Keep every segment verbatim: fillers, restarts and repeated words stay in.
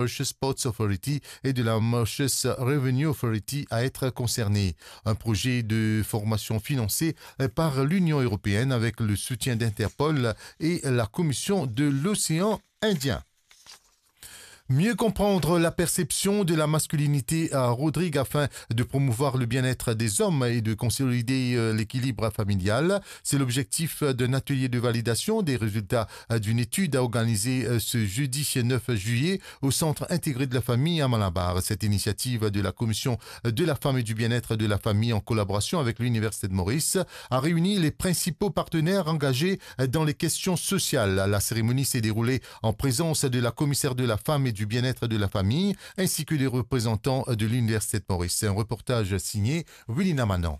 Mauritius Ports Authority et de la Mauritius Revenue Authority à être concernés. Un projet de formation financé par l'Union européenne avec le soutien d'Interpol et la Commission de l'Océan Indien. Mieux comprendre la perception de la masculinité à Rodrigues afin de promouvoir le bien-être des hommes et de consolider, euh, l'équilibre familial. C'est l'objectif d'un atelier de validation des résultats, euh, d'une étude organisée, euh, ce jeudi neuf juillet au Centre intégré de la famille à Malabar. Cette initiative de la Commission de la Femme et du Bien-être de la Famille en collaboration avec l'Université de Maurice a réuni les principaux partenaires engagés dans les questions sociales. La cérémonie s'est déroulée en présence de la commissaire de la Femme et du Bien-être de la Famille, ainsi que des représentants de l'Université de Maurice. Un reportage signé Wilina Manon.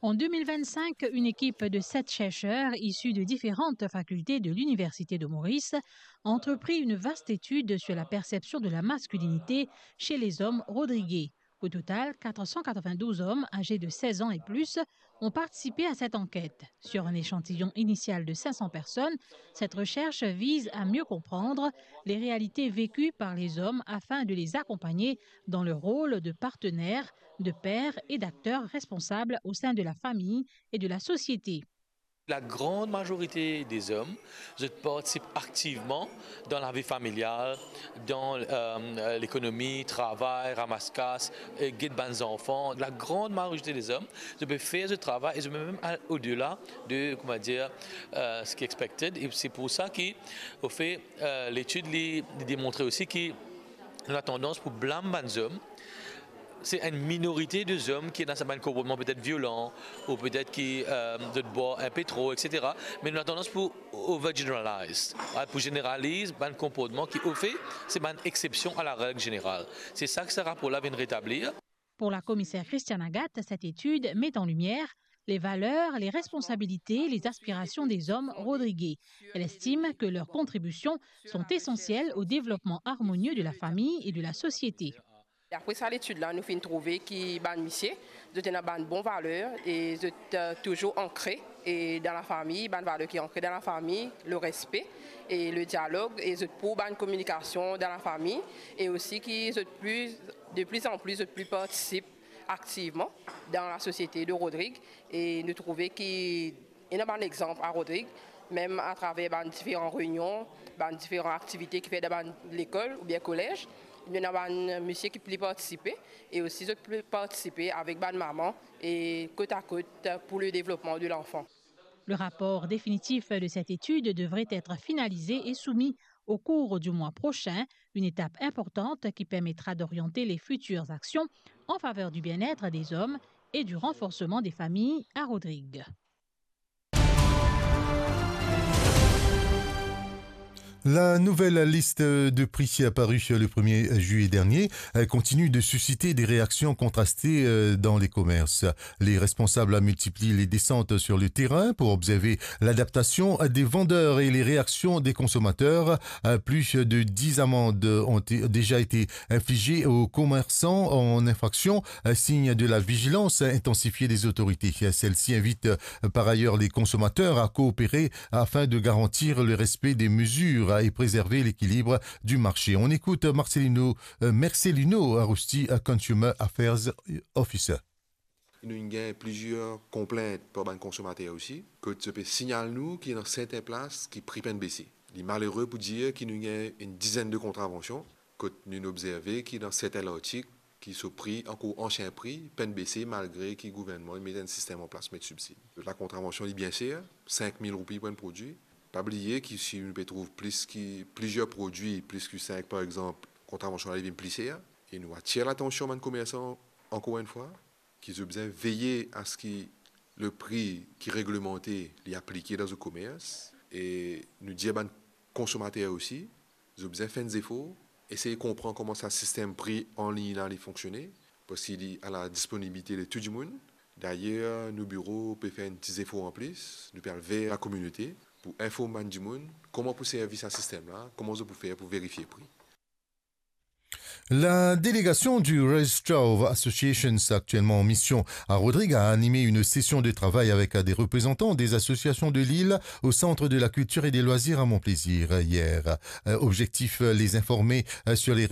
En deux mille vingt-cinq, une équipe de sept chercheurs issus de différentes facultés de l'Université de Maurice a entrepris une vaste étude sur la perception de la masculinité chez les hommes rodriguais. Au total, quatre cent quatre-vingt-douze hommes âgés de seize ans et plus ont participé à cette enquête. Sur un échantillon initial de cinq cents personnes, cette recherche vise à mieux comprendre les réalités vécues par les hommes afin de les accompagner dans leur rôle de partenaire, de père et d'acteur responsable au sein de la famille et de la société. La grande majorité des hommes, zot partisip aktivman dan lavi familial, dan, euh, lekonomi, travay, ramas kas, e get bann zanfan. La grande majorité des hommes, zot pe fer zot travay e zot pe mem al odela de, kouma dir, euh, ce qui est expected. E se pou sa ki, au fait, euh, l'étude li, li demontre osi ki nou ena tandans pou blam bann zom. Se enn minorite de zom ki ena sa bann konportman petet violan, ou petet ki, euh, zot bwar inpe tro, et cetera. Me nou ena tandans pou overgeneralize, a, pou zeneraliz bann konportman ki, au fait, se bann exception à la règle générale. Se sa ki sa rapor la vinn retablir. Pour la commissaire Christiane Agathe, cette étude met en lumière les valeurs, les responsabilités, les aspirations des hommes rodriguais. Elle estime que leurs contributions sont essentielles au développement harmonieux de la famille et de la société. E apre sa letid la, nou finn trouve ki bann misie, zot ena bann bon valer e zot, euh, touzour ankre e dan lafami, bann valer ki ankre dan lafami, le respe e le dialog, e zot pou bann kominikasion dan lafami, e osi ki zot pli, de pli an pli, zot pli partisip aktivman dan lasosiete de Rodrig, e nou trouve ki ena bann exanp a Rodrig, mem atraver bann diferan reynion, bann diferan aktivite ki fer dan bann lekol oubien kolez, nou ena bann misie ki pli partisipe, e osi zot pli partisipe avek bann mama e kot a kot pour le développement de l'enfant. Le rapport définitif de cette étude devrait être finalisé et soumis au cours du mois prochain, une étape importante qui permettra d'orienter les futures actions en faveur du bien-être des hommes et du renforcement des familles à Rodrig. La nouvelle liste de prix parue le premier juillet dernier, euh, continue de susciter des réactions contrastées, euh, dans les commerces. Les responsables multiplient les descentes sur le terrain pour observer l'adaptation des vendeurs et les réactions des consommateurs. Euh, plus de dix amendes ont é-, déjà été infligées aux commerçants en infraction, euh, signe de la vigilance intensifiée des autorités. Celle-ci invite, euh, par ailleurs les consommateurs à coopérer afin de garantir le respect des mesures et préserver l'équilibre du marché. On écoute Marcelino, euh, Marcelino Arusti, euh, Consumer Affairs Officer. Nou inn gagn plizier konplint par bann konsomater osi, kot zot pe signal nou ki dan sertin plas ki pri pa'nn bese. Li malere pou dir ki nou inn gagn enn dizenn de kontravansion, kot nou obzerve ki dan sertin lartik ki so pri ankor ansien pri, pa'nn bese malgre ki gouvernman inn met enn sistem an plas, met sibsid. La kontravansion li bien ser, sink mil roupi pou enn prodwi. Pa bliye ki si nou pe trouv plis ki, plizier prodwi, plis ki sink par exanp, kontravansion la li vinn pli ser. E nou atir latansion bann komersan, ankor enn fwa, ki zot bizin veye a se ki le pri ki reglemante li aplike dan zot komers, e nou dir bann konsomater osi, zot bizin fer enn zefor, esey konpran kouma sa sistem pri an lign la li fonksione, parski li a la disponibilite de tou dimoun. Dayer, nou biro pe fer enn ti zefor an plis, nou pe al ver lakominote pou inform bann dimoun kouma pou servi sa sistem la, kouma zot pou fer pou verifie pri. La délégation du Red Straw Association, actuellement en mission à Rodrigues, a animé une session de travail avec des représentants des associations de l'île au Centre de la Culture et des Loisirs à Mont-Plaisir hier. Euh, objectif, les informer, euh, sur les